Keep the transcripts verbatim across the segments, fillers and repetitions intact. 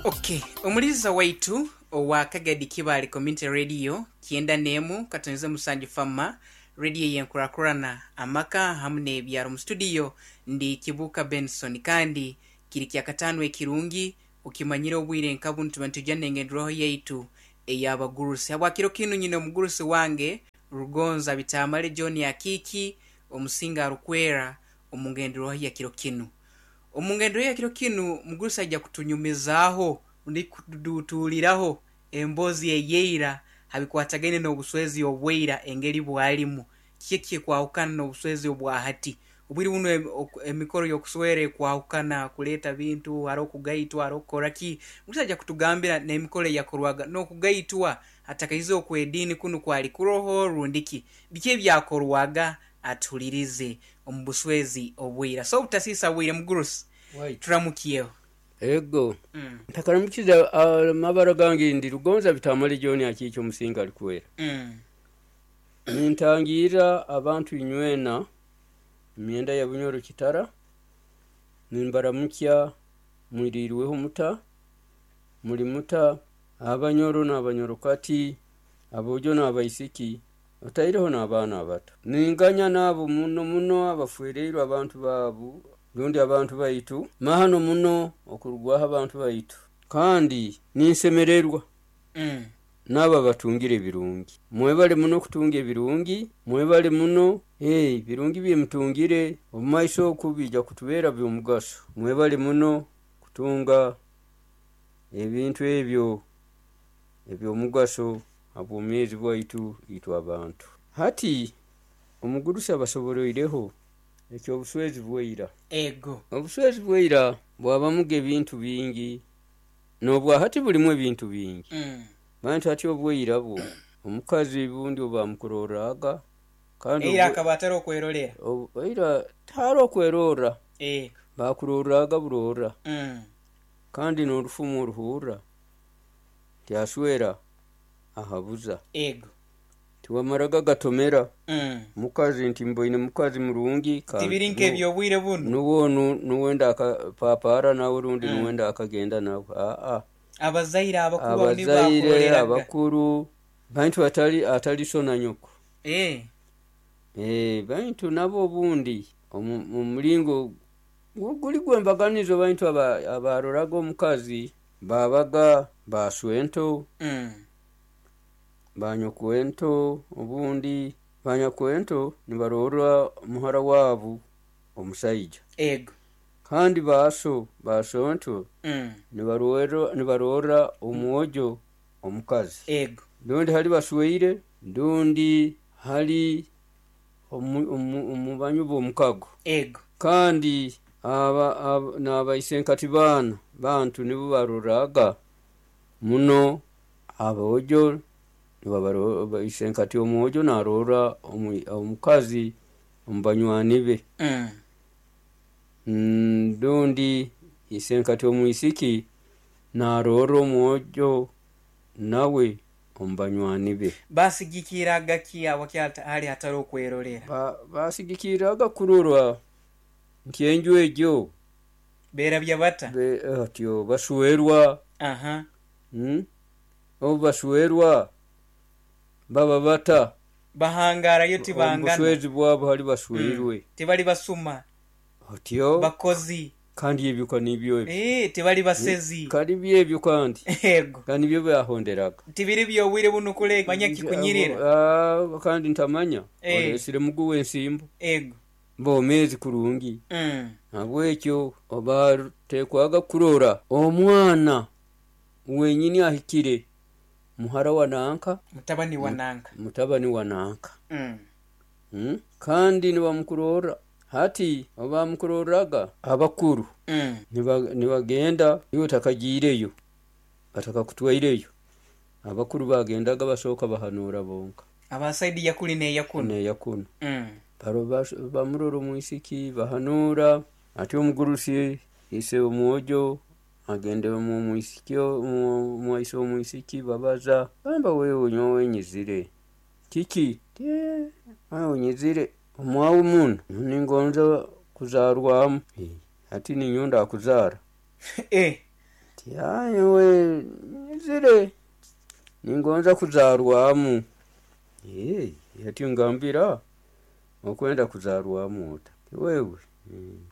Okay, omuliza waitu owa Kagadi Kibaale Community Radio kyenda n'emu katonze musanju fama radio yenkurakurana amaka hamu n'ebyaro. Mu studio ndi Kibuuka Benson, kandi kiri kyakataano ekirungi okimanyire obwire nka bunu tuba nitujja n'engenderwaho yaitu ey'abagurusi. Habwakiro kinu nyine omugurusi wange Rugonza Bitamale John Akiiki omusinga arukwera omu ngenderwaho ya kiro kinu. Omu ngenderwaho ya kiro kinu mugurusi aija kutunyumizaaho rundi kutuduutuuriraho emboozi eyeira habikwatagaine n'obuswezi obweira engeri bwalimu. Kiki ekikwahukana n'obuswezi obwa hati? Obwire bunu emikoro y'okuswera ekwahukana kuleeta bintu, haroho okugaitwa, haroho kukora ki. Mugurusi aija kutugambira n'emikoro eyakorwaga n'okugaitwa hatakaizireho okw'ediini kunu kwali kuroho rundi ki. Biki ebyakorwaga atuhulirize omu buswezi obwira. So obutasiisa bwire mugurusi, turamukyeho. Ego ntakaramukize amabara gange ndi Rugonza Bitamale John Akiiki omusinga alikwera. Mm. Nintangiira abantu inywena emyenda ya Bunyoro Kitara, nimbaramukya mwiriirweho muta, muli muta, abanyoro n'abanyorokati, aboojo n'abaisiki, otaireho n'abaana abato. Ninganya n'abo muno muno abafwereirwe abantu baabu rundi abantu baitu, mahano muno okurugwaho abantu baitu, kandi ninsemererwa Mm. n'abo abatungire ebirungi. Mwebale muno okutunga ebirungi, mwebale muno, ee birungi byemutungire omu maiso oku biija kutubeera by'omugaso. Mwebale muno kutunga ebintu ebyo eby'omugaso ha bwomeezi bwaitu itwe abantu. Hati omugurusi abasoboroireho eky'obuswezi bwaira. Ego. Obuswezi bwaira bwabamuga ebintu bingi, n'obwa hati bulimu ebintu bingi. Mm. Bantu hati obwaira bwo omukazi bundi obu bamukurorraga kandi Eira akaba atari okwerorera. Eira tihariho okwerorra, Ego. bakurorraga burorra Mm. kandi n'orufumu oruhurra nti aswera ahabuza. Ego. Tiwamaraga gatomera Mm. mukazi nti mboine mukazi murungi Tibiri nk'eby'obwire bunu. nuwe onu nuwe ndakapaapaara nawe rundi Mm. nuwe ndakagenda nawe aa. Abazaire abakuru abo nibo Abazaire bakuroreraga. abakuru bantu atali atali so na nyoko. Eh. Eh, bantu nabo obundi omu mulingo guli gw'embaganizo bantu aba abaroraga omukazi babaga baswento Mm. banyokwento obundi banyakwento nibarorra muhara waabu omusaija. Ego. Kandi baaso basonto Mm. nibarorra nibarorra omwojo omukazi. Ego. Rundi hali basweire, rundi hali omu omu omubanyu b'omukago. Ego. Kandi aba aba n'abaisenkati baana bantu nibo barorraga muno aboojo nibabaro isenkati omwojo naarorra omu omukazi omu banywani be. Mm. Mm, rundi isenkati omwisiki naarorra omwojo nawe omu banywani be. Basigikirraga ki awo hali hatari okwerorera? Ba basigikirraga kurora nti enju egyo Beerabya bata? be otyo baswerwa Aha. mm, obu baswerwa baba bata Bahangarayo omu tibangana. buswezi bwabo hali Mm. basweirwe. Tibali basuma. Otyo Bakozi. kandi ebyo kanibyo ebyo. Eh, tibali basezi. Kali byebyo kandi Ego. kandi nibyo byahonderaga. Tibiri by'obwire bunu kule manya kikunyirira. Ah, kandi ntamanya Eh. olesire mugu w'ensimbo Ego. bomeezi kurungi. Mm. Habwekyo obateekwaga kurora omwana wenyini ahikire muhara wa nanka Mutabani wa nanka. mutabani wa nanka. Mm. Mm? Kandi nibamukurorra hati obamukurorraga abakuru Mm. niba nibagenda iwe otakagiireyo batakakutwaireyo abakuru bagendaga basooka bahanuura bonka Aba saidi ya kuli n'eya kunu. n'eya kunu. Mm. Baro bamurora omwisiki bahanuura ati omugurusi ise omwojo agende omu mwisiki omwaise omwisiki babaza gamba wewe nyowe nyizire kiki ti awe nyizire omwawu muno ningonza kuzarwamu. Hati ninyowe ndakuzaara. Eh. Ti nyowe nyizire ningonza kuzarwamu. Eh, ati ngambira okwenda kuzarwamu ota? Wewe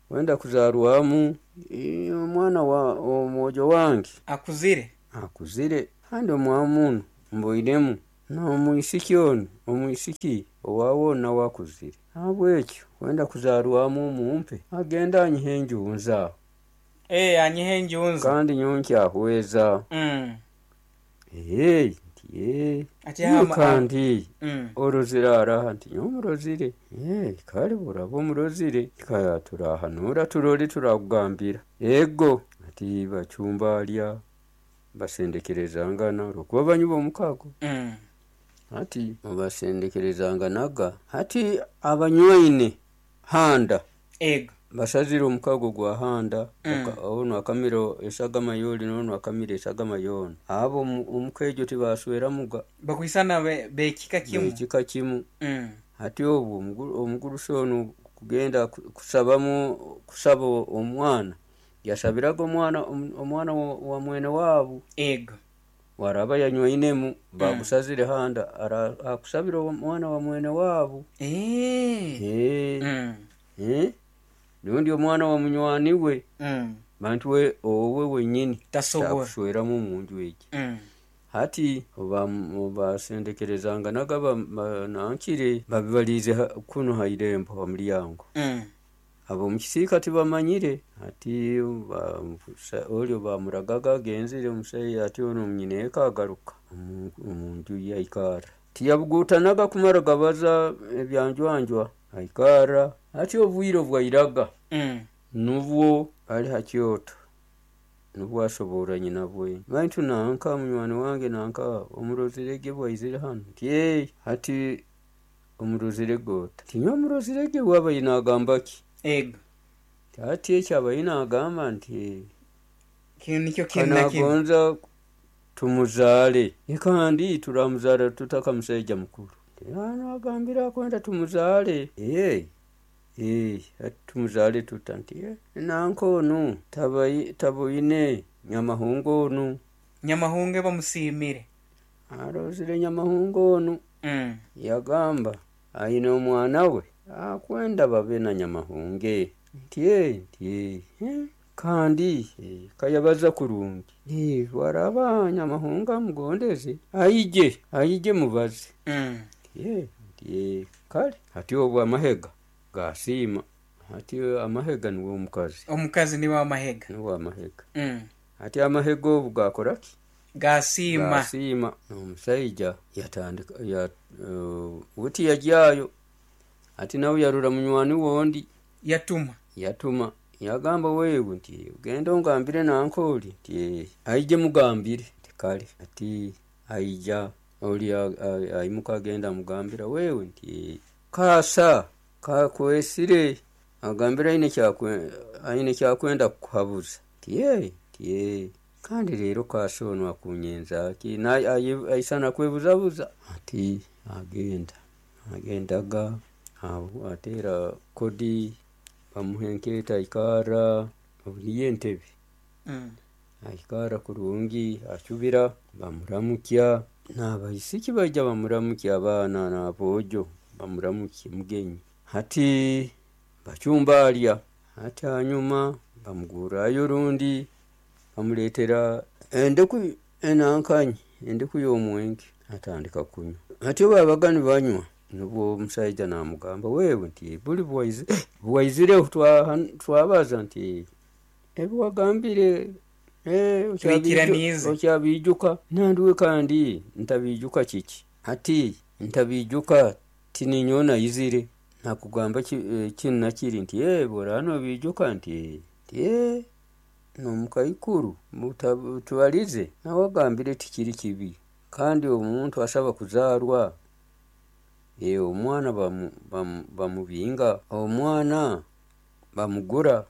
kwenda kuzarwamu, eh, omwana wa omwojo wange Akuzire. Akuzire, kandi omwamu mboinemu n'omwisiki onu, omwisiki owawe onu nawe akuzire, nahabwekyo kwenda kuzarwamu omumpe agende anyihe enjunza. Eh, anyihe enjunza. Kandi nyowe nkyahweza. Mm. Ee, nti ee. Ati hama- Kandi Mm. orozire araha? Nti nyowe murozire. Ee, kale buraba omurozire, kaya turahanura turole, turakugambira. Ego ati bacumba alya basendekerezangana olwokuba banywi b'omukago. Mm. Ati basendekerezanganaga, hati abanywaine handa. Ego. Basazire omukago gwa handa. Mm. Aka- onu akamira esagama yoli n'onu akamira esagama yoona, abo omu- omuka egyo tibasweramuga. Bakwisana be- bekika kimu. Ekika kimu. Mm. Hati obwo omugu- omugurusi onu kugenda ku- kusabamu, kusaba omwana, yasabiraga omwana om- omwana wa, wa mwene waabu. Ego. Waraba yanywainemu bagusazire handa, ara- akusabira omwana wa mwene waabu. Eh. Eh, Mm. eh, rundi omwana wa munywani we. Mm. Bantu we owe wenyini Tasobora. takusweramu omunju egi. Mm. Hati basendekerezanganaga, nankire babibaliize ha- kuno ha irembo ha mulyango. Mm. Ab'omukisiika tibamanyire. Hati ba- sa- olyo bamuragaga agenzire omusaija, ati ono munyineeka agaruka omu- omunju ye aikara, tiyabugutanaga kumara gabaza ebyanjwanjwa, aikara. Hati obwire obwairaga, Mm. nubwo ali ha kyoto, nubwo asoborra nyina bwe, baitu nanka munywani wange nanka omurozirege bwaizire hanu. Nti "Ee, hati omurozirege ota?" Ti nyowe omurozirege bwaba nagamba ki? Ego. Ti hati ekyo abaye nagamba nti Kino nikyo kinu na kinu. Kanagonza tumuzaale. E kandi turamuzaara tutaka musaija mukuru? Nagambira akwenda tumuzaale. Ee, ee, hati tumuzaale tuta? Nti "Eh, nanka onu tabai- taboine nyamahungu onu." Nyamahunge bamusiimire. Arozire nyamahungu onu. Mm. Yagamba aine omwana we akwenda babe na nyamahunge. Nti "Eh," nti "Eh, eh, kandi eh, kayabaza kurungi. Eh, waraba nyamahungu amugondeze, aije aije mubaze." Mm. Nti "Eh," nti "Eh, kale." Hati obwo amahega gasiima. Hati amahega niwe omukazi. Omukazi niwe amahega. Niwe amahega. Mm. Hati amahega obu gakora ki? Gasiima. Gasiima. Omusaija yatandika ya, uh, buti yajyayo, ati nawe yarora munywani wondi. Yatuma. Yatuma, yagamba wewe nti genda ongambire nankoli nti "Eh, aije mugambire." Nti kale. Ati aija oli a- a- aimuka agenda amugambira, wewe nti "Eh, kasa kakwesire, agambira aine kyakwe aine kyakwenda kukuhabuza." Nti "Eh," nti "Eh, kandi rero kasa onu akunyenza ki? Na- aye- aisana kwebuzabuza." Ati agenda agendaga aho ateera kodi, bamuha enkeeta, aikara obu niyo entebe. Mm. Aikara kurungi, acubira, bamuramukya n'abaisiki baija bamuramukya, abaana n'aboojo bamuramukya mugenyi. Hati bacumba alya. Hati hanyuma bamugurrayo rundi bamuleetera endeku enankanyi, endeku y'omwenge, atandika kunywa. Hati obu babaga nibanywa, nubwo omusaija namugamba, wewe nti buli bwaize bwaizireho twaha- twabaza nti ebi wagambire eh, okyabiiju- Twikiraniize. Okyabiijuka? Nandiwe kandi ntabiijuka kiki? Hati ntabiijuka tininyowe naizire nakugamba ki- eh, kinu nakiri. Nti "Eh, bworaba nobiijuka." Nti "Eh." Nti "Eh, nomukaikuru muta- tubalize nawe agambire tikiri kibi, kandi omuntu asaba kuzaarwa, e, omwana bamu- bamu- bamubinga, omwana bamugura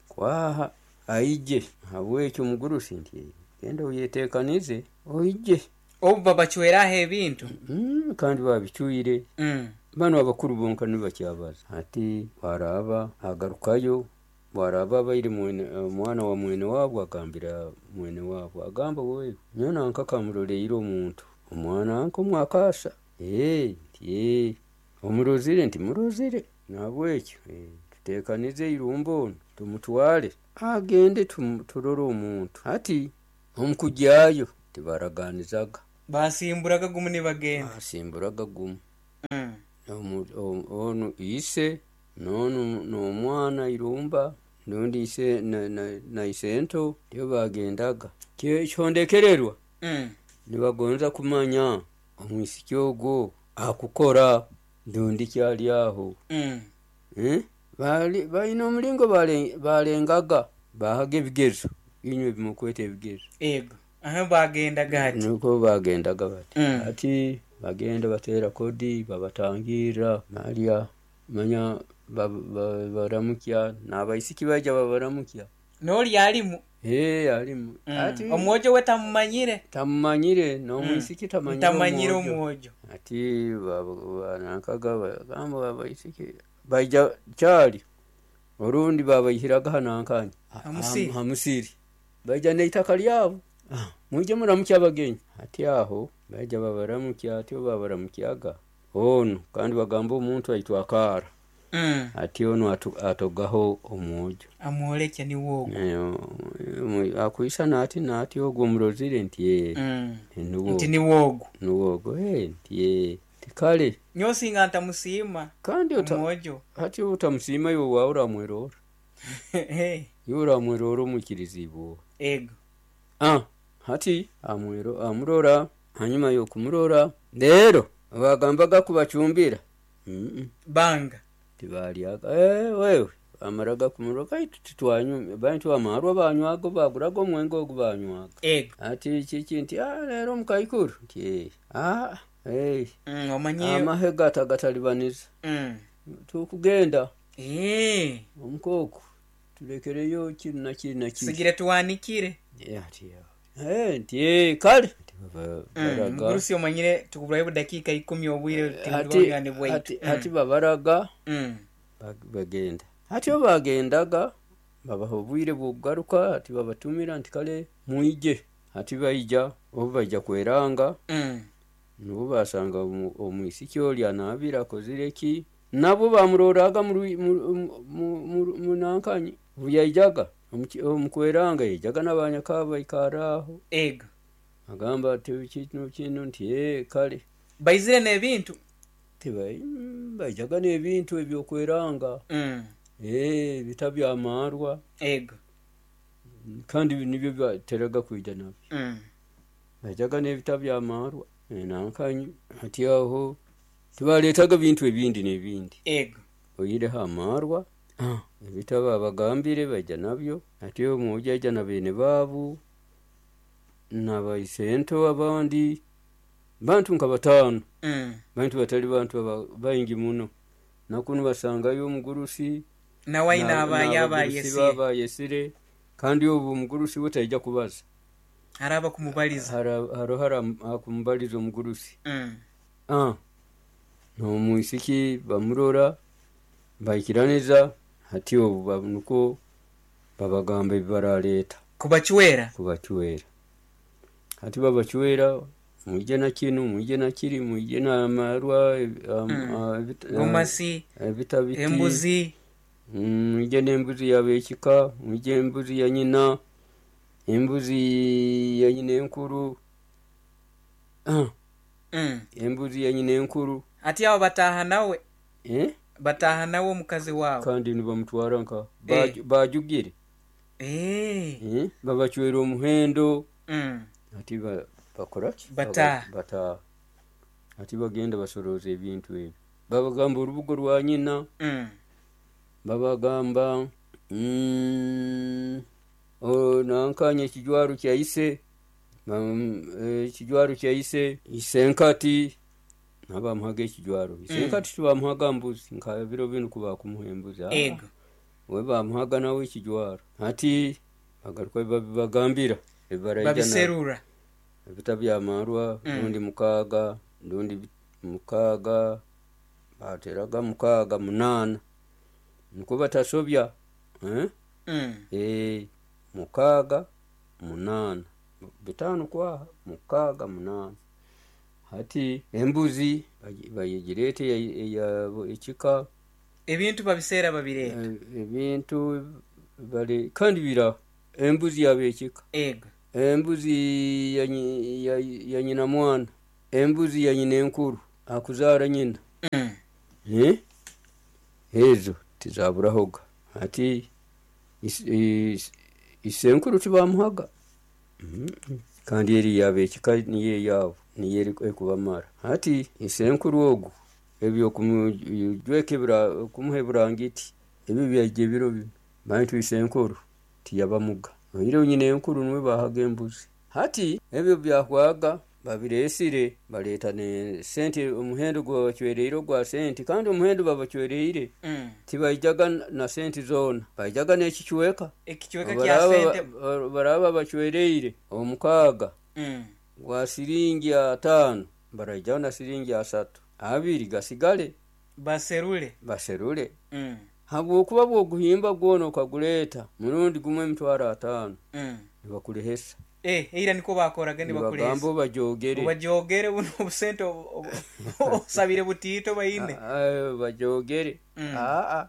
kwaha aije. Habwekyo omugurusi nti genda oyetekanize oije." Obu babacweraho ebintu. Mm, kandi babicwire. Mm. Bano abakuru bonka nibakyabaza. Hati baraba agarukayo. Bwaraba abaire mwene omwana wa mwene wabu, agambira mwene wabu, agamba, wewe nyowe nanka kamuroleire omuntu omwana nka omwakasa, ee nti ee omurozire, nti murozire, nahabwekyo tutekanize irumba onu tumutwale agende turole omuntu. Hati omukugyayo tibaraganizaga, Basimburaga gumu nibagenda. Basimburaga gumu. Onu ise n'onu n'omwana irumba rundi ise na isento nibo bagendaga. Ekihondekererwa nibagonza kumanya omwisiki ogwo akukora rundi ki ali aho. Baine omulingo balengaga, bahaga ebigezo, inywe ebimukweta ebigezo. Ego aha bagendaga hati. Nukwo bagendaga bati. Hati bagenda bateera kodi, babatangirra balya, manya baramukya n'abaisiki baija babaramukya. N'oli alimu. Ee alimu. Hati omwojo we tamumanyire. Tamumanyire, n'omwisiki tamanyire Tamanyire omwojo. Hati banankaga bagamba abaisiki baija kyali orundi babaihiraga hanankanya Hamusiri. Hamusiri, baija n'eitaka lyabo, mwije muramukye abagenyi. Hati aho baija babaramukya, hati obu babaramukyaga onu kandi bagamba omuntu aitwa akaara. Hati onu atogaho omwojo, Amwolekye niwe ogwo. Akwisana ati naati ogwo omurozire, nti ee Nuwo, nti niwe ogwo. Nuwe ogwo, nti ee tikale. Nyowe singa ntamusiima Kandi omwojo. Hati obu otamusiima iwe waawe oramwerora, iwe oramwerora omwikirizibwe. Ego. Hati amurora, hanyuma y'okumurora leero bagambaga kubacumbira Banga. Tibalyaga. Wewe bamaraga kumurora, baitu titwanywa, baitu amarwa banywaga, baguraga omwenge ogu banywaga. Ego. Hati kiki nti leero omukaikuru, nti ee Omanyire amahe gatagalibaniza. Tukugenda omukooko tulekereyo kinu na kiri na kiri. Sigire tuwanikire. Ati nti ee kale. Mugurusi omanyire tukuburayo dakiika ikumi obwire tibwani bwaitu. Hati babaraga bagenda. Hati obu bagendaga babaha obwire bw'okugaruka, hati babatumira nti kale mwije. Hati baija, obu baija kweranga nubwo basanga omwisiki oli anaabire akozire ki, nabwo bamuroraga munankanyi obu yaijaga omukweranga yaijaga n'abanyakaba baikara aho. Ego. Agamba ati kinu kinu, nti ee kale. Baizire n'ebintu? Baijaga n'ebintu eby'okweranga. Ee ebita by'amarwa. Ego. Kandi nibyo bateraga kwija nabyo. Baijaga n'ebita by'amarwa nankanyi. Hati aho tibaretaga bintu ebindi n'ebindi. Ego. Oihireho amarwa, ebita babagambire baija nabyo. Hati omwojo aija na beene baabu n'abaisento abandi bantu nka bataano. Bantu batali bantu baingi muno. Nakunu basangayo omugurusi nawe aine abaye abayesire, kandi obu omugurusi we taija kubaza. Haraba kumubaliza. Haroho akumubaliza omugurusi. N'omwisiki bamurora baikiraniza, hati obu nukwo babagamba ebi baraleeta. Kubacwera? Kubacwera. Hati babacwera, mwije na kinu, mwije na kiri, mwije n'amarwa, gomasi, ebita biti, embuzi, mwije n'embuzi y'abekika, mwije embuzi ya nyina, embuzi ya nyina enkuru, embuzi ya nyina enkuru. Hati abo bataaha nawe? Bataaha nawe omukazi wawe? Kandi nibamutwara nka bajugire. Babacwera omuhendo. Hati bakoraki? Bataaha. Bataaha. Hati bagenda basoroza ebintu ebi. Babagamba orubugo rwa nyina. Babagamba nankanya ekijwaro kya ise, ekijwaro kya ise, isenkati nabamuhaga ekijwaro. Isenkati tibamuhaga mbuzi nka biro binu kuba kumuha embuzi. Ego. We bamuhaga nawe ekijwaro. Hati bagaruka babagambira babiserura ebita by'amarwa, rundi mukaaga, rundi mukaaga, bateraga mukaaga munaana nukwo batasobya. Mm. Eh, mukaaga munaana, bitaano kwaha mukaaga munaana. Hati embuzi bagi- bagireeta eya- eya ekika. Ebintu babiseera babireeta. Eh, ebintu bali kandi biraho embuzi yabekika, Ego. embuzi ya, nyi- ya, ya nyina mwana, embuzi ya nyina enkuru akuzaara nyina. Mm. Eh? Ezo tizaburahoga. Hati is- is- isenkuru tibamuhaga. Mm-mm. Kandi eri yabekika niyo eyabo, niyo eri- ekubamara. Hati isenkuru ogu ebyo kumujweka ebura- kumuha eburangiti ebyo byaija ebiro binu, baitu isenkuru tiyabamuga, oihireho nyina enkuru niwe bahaga embuzi. Hati ebyo byahwaga babireesire, baleeta ne sente, omuhendo gwabacwereire ogwa sente, kandi omuhendo babacwereire Mm. tibaijaga na sente zoona, baijaga n'ekicweka. Ekicweka kya Baraba sente. ba- baraba bacwereire omukaaga Mm. gwa siringi ataano, baraijaho na siringi asatu, abiri gasigale. Baserule. Baserule. Mm. Habwokuba bwoguhimba gwona okaguleeta murundi gumwe emitwaro ataano, Mm. nibakurehesa. Eh, eira niko bakoraga. Nibagamba Nibakurehesa. obajogere. Bajogere buno obusente obu- obu- osabire butiito baine. Ah, bajogere. Mm. Aa,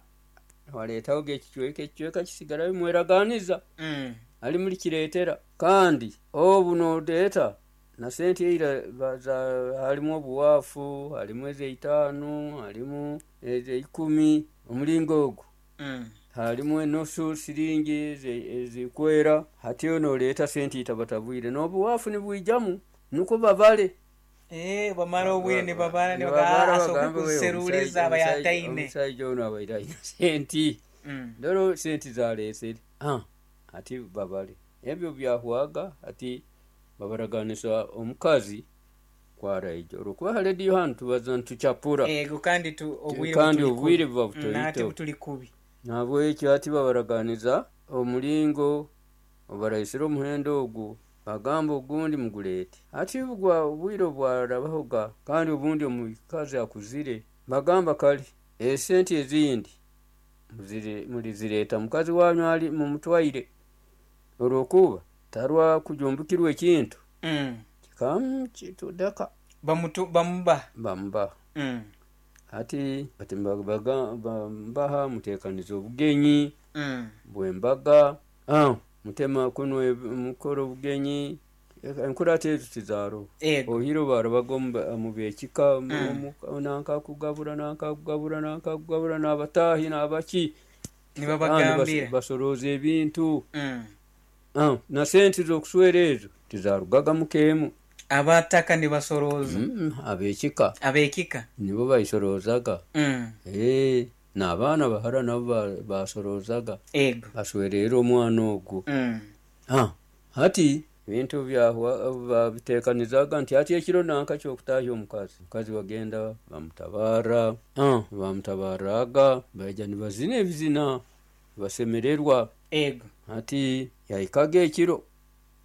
waleetaho ekicweka, ekicweka kisigarayo, mweraganiza Mm. ali mulikireetera. Kandi obu nodeeta na sente eira ba- za- halimu obuwaafu, halimu ezeitaano, halimu ezeikumi, omulingo ogwo. Mm. Halimu enusu siringi eze- ezikwera. Hati noleeta sente itabatabwire n'obuwaafu nibwijamu, nukwo babale. Eh, bamara obwire nibabara. Nibabara, Nibabara asobola bagambe, "We, kuseruliza omusajja- aba yataine." Omusajja ono abaire aina senti. Mm. Ndoro senti zaleesere. Ah, ati babale ebyo byahwaga. Ati babaraganisa omukazi kwaraija, olwokuba ha rediyo hanu tubaza nitucapura. Ego, kandi tu obwire Kandi butuli obwire kubi. buba Mm, ate butoito. butuli kubi. Nabwekyo ati babaraganiza omulingo obaraisire omuhendo ogwo, bagamba ogundi muguleete. Ati bugwa obwire bwarabahoga, kandi obundi omukazi akuzire, bagamba kale esente ezindi muzire- mulizireeta mukazi wanyu ali mumutwaire, olwokuba tarwa kujumbukirwa ekintu Mm. kikamukitudaka. Bamutu bamuba. Bamubaha. Mm. Hati bati baga- bamubaha, muteekaniza obugenyi Mm. bwembaga. Ah, mutema kuno eb- mukora obugenyi, enkurata ezo tizaroho. Ego. Ohiro barabaga omu- omu bekika, nankakugabura, nankakugabura, nankakugabura, n'abataahi n'abaki. Kandi bas- Nibabagambira. basorooza ebintu. Mm. Ah, na sente z'okuswera ezo tizarugaga mukeemu. Abataka nibasorooza. Mm, abekika. Abekika. Nibo baisorozaga. Mm. Eh, n'abaana bahara nabo ba- basoroozaga, Ego. baswerera omwana ogwo. Mm. Ah, hati ebintu byahwa babiteekanizaga nti hati ekiro nanka kyokutahya omukazi, omukazi bagenda bamutabara. Ah, bamutabaraga, baija nibazina ebizina, basemererwa. Ego. Hati yahikaga ekiro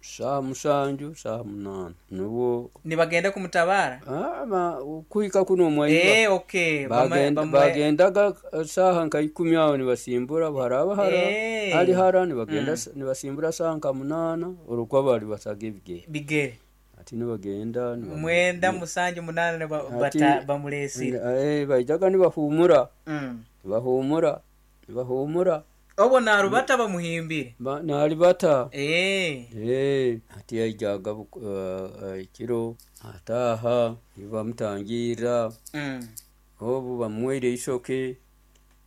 saaha musanju, saaha munaana, nubwo Nibagenda kumutabara. Ah, ma- kuhika kuno omwaiba. Eh, okay. Bama- Bagenda- bamwe- bagendaga eh, saaha nka ikumi aho nibasimbura, haraba hara Eh. hali hara nibagenda, nibasimbura saaha nka munaana, olwokuba bali basaga ebigere. Bigere. Ati nibagenda niba- Mwenda, musanju, munaana niba- Ati- bata- bamuleesire. Eh, baijaga nibahumura, Mm. nibahumura, nibahumura. Obwo narubata bamuhimbire. Ba- nalibata. Eh. Eh, ati yaijaga buku- eh, eh, ekiro ataaha, nibamutangiira. Mm. Obu bamuwaire eisoke,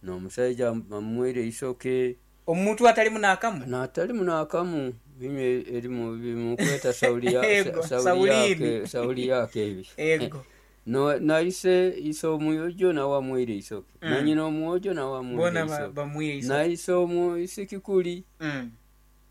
n'omusaija bamuwaire eisoke. Omuntu atalimu n'akamu. Natalimu n'akamu, binywe erimu bimukweta sauli ya- Ego, sa- sauli Saulini. yake, sauli yake ebi. Ego. No- naise ise omwojo nawe amuwaire eisoke, nanyina omwojo nawe amuwaire Bona ba- eisoke, bamuire isoke. naise omuisiki kuli Mm.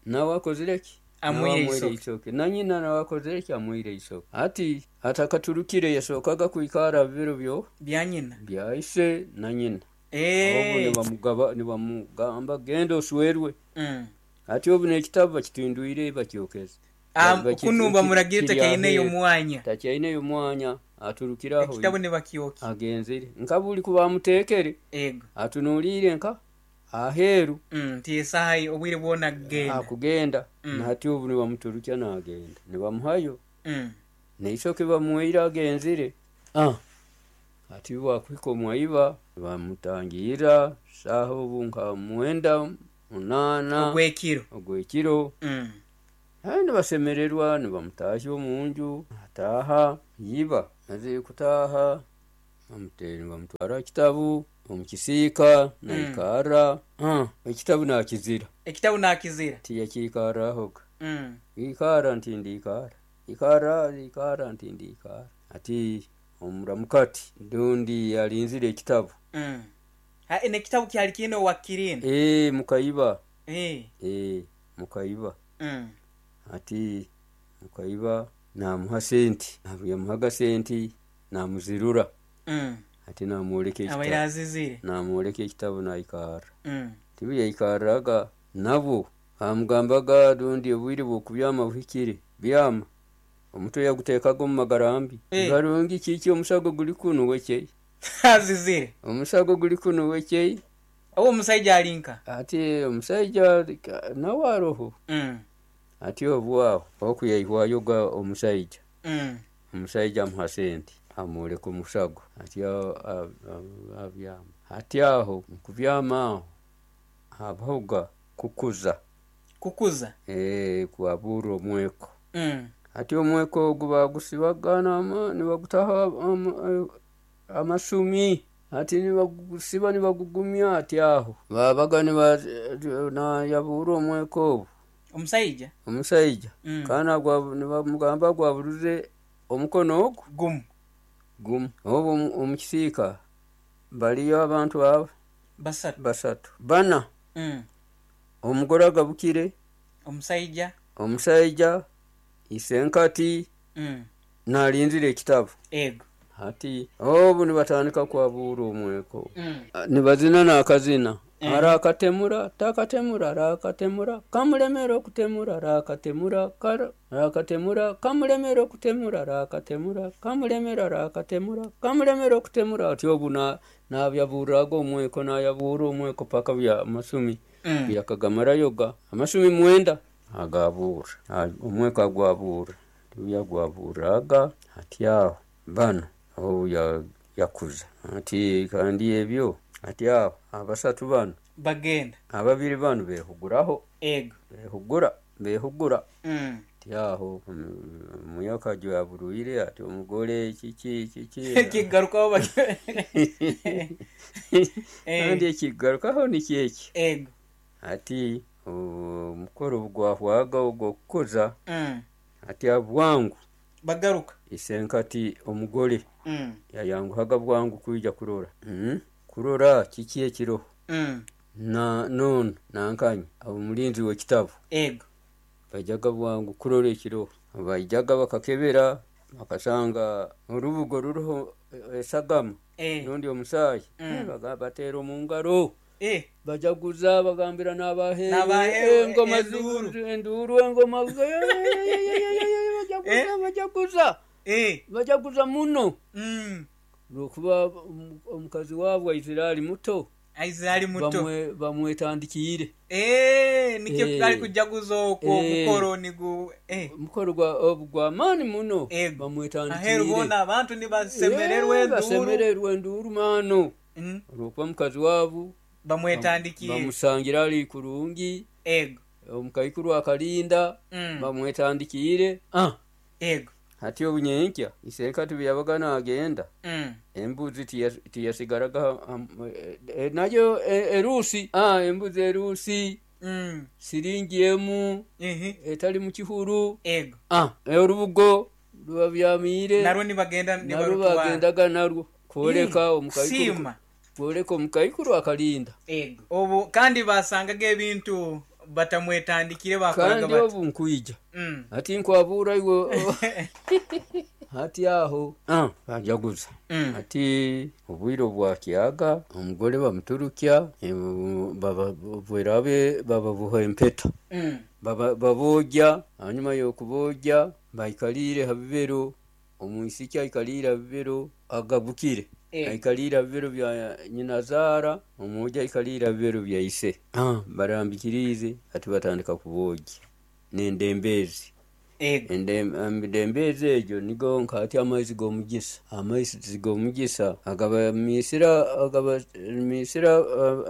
nawe akozire ki? Nawe Amuwaire amuwaire isoke. eisoke, nanyina nawe akozire ki? Amuwaire eisoke. Ati atakaturukire yasookaga kwikara biro byo Byanyina. byaise na nyina. Obu Eh. nibamugaba, nibamugamba genda oswerwe. Mm. Ati obu n'ekitabu bakitindwire, bakyokeze. Ah, Baki- kunu bamuragire kiri takyaineyo aheeru. mwanya. Takyaineyo mwanya, aturukiraho. Ekitabu nibakyoki. Agenzere nka buli kuba amuteekere. Ego. Atunuulire nka Aheeru. Mm, ti esaaha obwire bwona kugenda. Akugenda. Mm. Nahati obu nibamuturukya nagenda nibamuhayo. Mm. Neisoke bamuwaire agenzire. Ah, ati bwakuhika omwaiba bamutangira saaha obu nka mwenda munaana ogwekiro. Ogwekiro. Mm. Aye nibasemererwa nibamutahya omunju, ataaha iba mazire kutaaha bamute- nibamutwara kitabu omukisiika naikara. Ah, ekitabu nakizira. Ekitabu nakizira. Tiyakiikarahoga. Mm. Ikara nti ndiikara, ikara ikara nti ndiikara. Ati omuramukati ndundi alinzire ekitabu. Mm. Ha, nekitabu kyali kiine owakirina. Ee, mukaiba. Eh. Ee, mukaiba. Mm. Ati mukaiba namuha senti, yamuhaga senti namuzirura. Mm. Ati namwoleka abaire ekitabu. azizire. Namwoleka ekitabu naikara. Mm. Tibu yaikaraga nabo bamugambaga rundi obwire bw'okubyama buhikire byama, omutwe yaguteekaga omu magarambi. Eh. Barungi kiki omusago guli kunu wekei. Azizire. Omusago guli kunu wekei. Owo omusaija alinka. Ati omusaija nawe aroho. Mm. Ati obwaho oku yaihwayoga omusaija. Mm. Omusaija amuha sente amwoleka omusago ati a- a- a- abyama. Ati aho mukubyama aho habahoga kukuza. Kukuza. Eh, kwabura omweko. Mm. Ati omweko ogu bagusibaga nama nibagutaho am- amasumi. Ati nibagusiba nibagugumya. Ati aho babaga niba- nayabura omweko obu. Omusaija. Omusaija. Mm. Kandi agwa- nibamugamba gwaburuze omukono ogu gumu. Gumu. Obu omu- omukisiika baliyo abantu abo basatu. Basatu bana. Mm. Omugore agabukire. Omusaija. Omusaija isenkati. Mm. Nalinzire ekitabu. Ego. Ati obu nibatandika kwabura omweko. Mm. Nibazina nakazina. Eh. Arakatemura takatemura arakatemura kamulemera okutemura arakatemura kara arakatemura kamulemera okutemura arakatemura kamulemera arakatemura kamulemera okutemura. Ati obu na nabyaburaga omweko nayabura omweko paka bya amasumi. Mm. Byakagamarayoga amasumi mwenda agabura. Ah, omweko agwabura yagwaburaga. Ati aho bano obu ya- yakuza ati kandi ebyo. Ati aho abasatu bano bagenda. Ababiri bano behuguraho. Ego. Behugura behugura. Mm. Ati aho omuyoka gyaburuire ati omugore kiki kiki. Kigarukaho bak- Eh. Kandi ekigarukaho nikyeki. Ego. Ati omukoro gwahwaga ogw'okukuza. Mm. Ati abwangu bagaruka. Isenkati omugore Mm. yayanguhaga bwangu kwija kurora. Mm. Kurora kiki ekiroho. Mm. Na nono nankanya omulinzi w'ekitabu. Ego. Baijaga bwangu kurora ekiroho, baijaga bakakebera bakasanga orubugo ruriho esagama. Eh. Rundi omusaayi. Mm. Eh, baga- bateera omu ngaro. Eh. Bajaguza bagambira n'abaheru. N'abaheru, engoma enduuru. zi- enduuru engoma bajaguza. Eh. Bajaguza. Eh. Bajaguza muno. Mm. Lwokuba omu- omukazi waabwe aizire ali muto. Aizire ali muto. Bamwe- bamwetandikiire. Eh, nikyo Eh. kali kujaguza okwo. Eh. Omukoro nigu eh. Omukoro gwa obu gw'amaani muno. Ego. Bamwetandikiire. Aheru boona abantu nibasemererwa Eh, enduuru. basemererwa enduuru maano. Mm. Olwokuba mukazi waabu bamwetandikiire. Bamusangira ali kurungi. Ego. Omukaikuru akalinda. Mm. Bamwetandikiire. Ah, Ego. hati obunyenkya isenkati bwe yabaga nagenda. Mm. Embuzi tiya- tiyasigaraga um, eh, eh, nayo eh, eruusi. Ah, embuzi eruusi. Mm. Siringi emu. Ehe. Etali mu kihuru. Ego. Ah, orubugo rubabyamiire. Narwo nibagenda narwo nibarutwara. bagendaga narwo kwoleka Mm. omukaikuru. Kusiima. Kwoleka omukaikuru akalinda. Ego. Obu kandi basangaga ebintu batamwetandikire bakoraga kandi bati. obu nkwija. Mm. Ati nkwabura iwe. Hati aho ah, bajaguza. Mm. Ati obwire obwakyaga omugore bamuturukya eh, baba- bwerabe bababuha empeta. Mm. Baba- babogya, hanyuma y'okubogya baikaliire ha bibero, omwisiki aikaliire ha bibero agabukire. Eh. Aikaliire ha bibero bya nyinazaara, omwojo aikaliire ha bibero bya ise. Ah, barambikiriize hati batandika kuboogya n'endembeezi. Ego. Endembeezi egyo nigo nkati amaizi g'omugisa, amaizi g'omugisa agabamiisira agabamiisira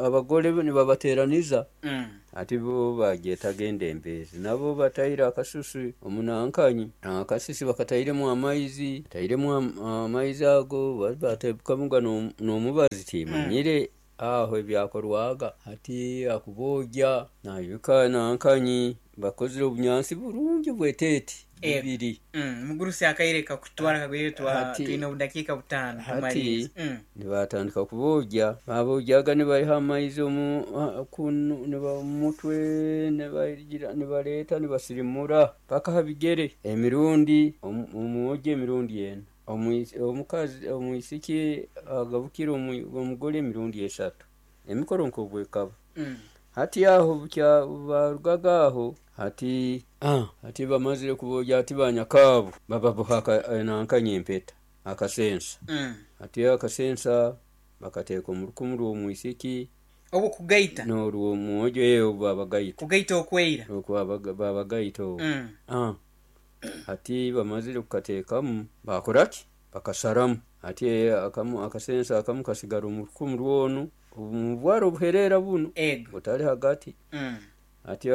abagole nibabateeraniza. Mm. Ati bo bagyetaga endembeezi, nabo bataire akasusu omunankanyi, akasusu bakatairemu amaizi, batairemu amaizi ago bateekamuga n'omubazi timanyire aho ebyakorwaga. Hati akuboogya naijuka nankanyi bakozire obunyansi burungi bweteete bubiri. Mm, mugurusi akaire kakutwara kagwire twa twine obudakiika butaano hati mm. Nibatandika kuboogya, baboogyaga nibaiha amaizi omu kunu mutwe nibagira nibaleeta nibasirimura paka ha bigere emirundi omwojo emirundi ena, omukazi omwisiki agabukire omugole emirundi esatu, emikoro nk'obwekaba. Mm. Hati aho barugaga aho hati ah, hati bamazire kuboogya hati banyakaabo bababoha nankanya empeta akasensa. Mm. Hati akasensa bakateeka omu rukumu rw'omwisiki obu kugaita n'orw'omwojo eyo babagaita kugaita okweira okwo babagaita obwo. Mm. Ah, hati bamazire kukateekamu bakoraki bakasaramu hati akamu akasensa akamu kasigara omu rukumu rwonu omu bwara obuhereera bunu ego butali hagati. Mm. Hati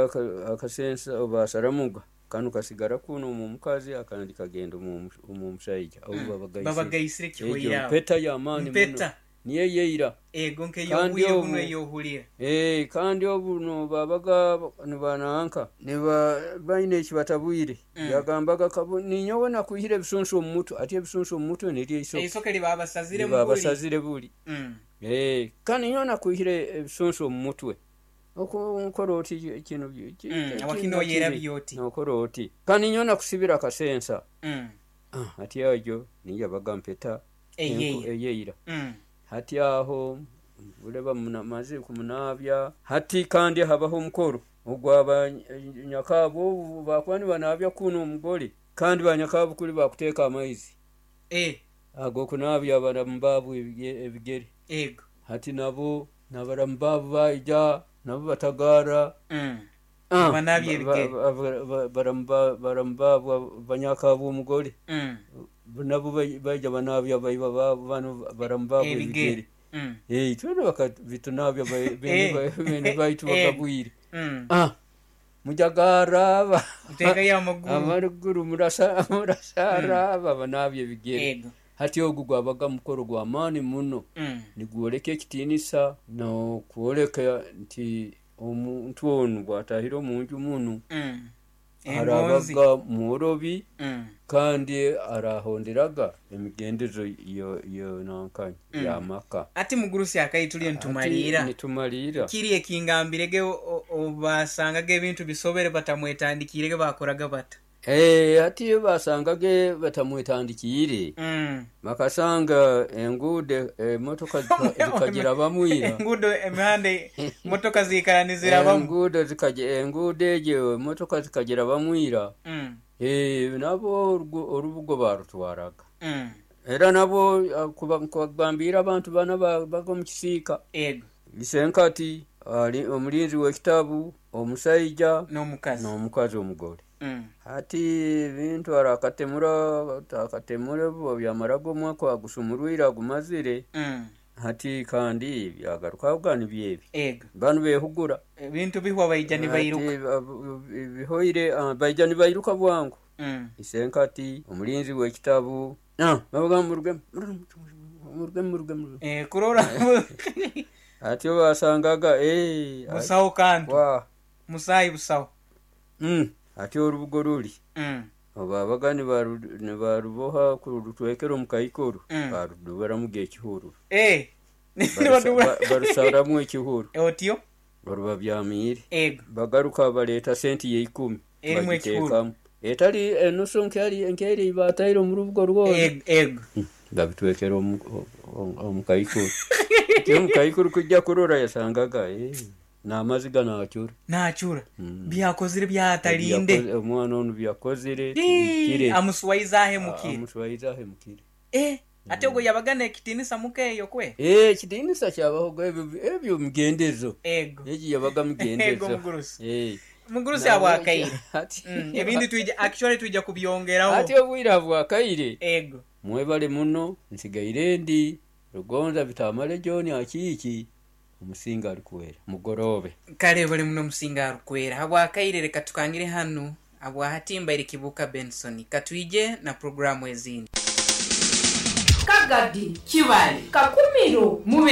akasensa basaramuga kanu kasigara kuno omu mukazi akandi kagenda omu omusaija obu Mm. babagaisire babagaisire egyo kihoira mpeta y'amaani muno mpeta niyo yeira ego kandi nk'eyobwire obu buno eyohulira eh kandi obu no babaga nibananka niba baine ekibatabwire. Mm. Yagambaga kabu ninyowe nakwihire ebisunsu omu mutwe, ati ebisunsu omu mutwe niryo isoke eisoke libabasazire mubuli. Libabasazire buli. Mm. Eh kandi ninyowe nakwihire ebisunsu omu mutwe okukora oti kino Mm, awakino yera byoti nokora oti kandi ninyowe nakusibira akasensa. Mm. Ah, hati ajo niyo baga mpeta eyeira eyeira. Mm. Hati aho buleba maze kumunabya hati kandi habaho omukoro ogwaba nyakaabo bakuba nibanabya kuno omugole kandi banyakaabo kuli bakuteeka amaizi eh ag'okunaabya abaramu baabo ebigere. Ego. Hati nabo n'abaramu baabo baija nabo batagaara. Mm. Ah, Banabya ebigere. baramu baramu baabo banyakaabo omugole Mm. nabo baija banabya baiba baabo bano baramu baabo ebigere. Mm. Eh, twena bakabitunabya bene baitu bakabwire. Mm. Ah, mujagara Muteekayo amaguru. Amaguru murasa murasara babanabya ebigere. Ego. Hati ogu gwabaga mukoro gw'amaani muno. Mm. Nigwoleka ekitiinisa n'okwoleka nti omuntu onu bw'atahire omunju munu Mm. Engonzi. arabaga mworobi Mm. kandi arahonderaga emigendezo yo yo nankanya Mm. y'amaka. Ati mugurusi akayi tuliyo nitumalira. Nitumalira. Kiri ekingambirege obasangaga ebintu bisobere batamwetandikirege bakoraga bata. Eh, hati iyo basangage batamwetandikiire Mm. bakasanga enguudo emotoka zikagira bamwira enguudo emihanda motoka ziikara nizirabamu enguudo zikagira enguudo egyo emotoka zikagira bamwira. Mm. Eh, nabo orubugo barutwaraga. Mm. Era nabo kubagambira abantu bana baga omu kisiika. Ego. Isenkati ali omulinzi w'ekitabu omusaija n'omukazi n'omukazi omugole. Mm. Hati ebintu arakatemura akatemura byamaraga omwaka agusumurwire agumazire. Mm. Hati kandi byagarukaga nibyebi. Ego. Banu behugura ebintu bihwa baija nibairuka. Bihoire baija nibairuka bwangu. Mm. Isenkati omulinzi w'ekitabu ah, babaga muruge muruge muruge muruge. Eh, kurora Hati basangaga eh busaho kantu wa musayi busaho. Mm. Hati orubugo ruli Mm. babaga nibaruboha kurutwekera omu kaikuru. Mm. Barudubaramu ekihuru. Eh. Barusaramu ekihuru otyo baruba byamiire. Ego. Bagaruka baleeta senti y'eikumi erimu ekihuru etali enusu nkeri nkeri bataire omu rubugo rwona. Ego ego. Babitwekera omu kaikuru omu kaikuru kujja kurora yasangaga eh n'amaziga naacura naacura. Mm. Byakozire byatalinde omwana onu byakozire tibikire amuswaiza ahemukire amuswaiza ahemukire. Eh. Ate ogwo yabaga n'ekitinisa muka eyo kwe. Eh, ekitinisa kyabahoga ebyo ebyo migendezo. Ego. Egi yabaga Ego migendezo. Mugurusi. Eh. Mugurusi, Nawe- abwakaire. Ati- Mm, ebindi twija, actually twija kubyongeraho. Ati obwire abwakaire. Ego. Mwebale muno, nsigaire ndi Rugonza Bitamale John Akiiki, omusinga alikwera mugorobe. Kale bali muno, omusinga arukwera habwakaire. Reka tukangire hanu habwahatimbaire Kibuka Benson, katwije na programu ezindi. Kagadi. Kibale. Kakumiro. Mube.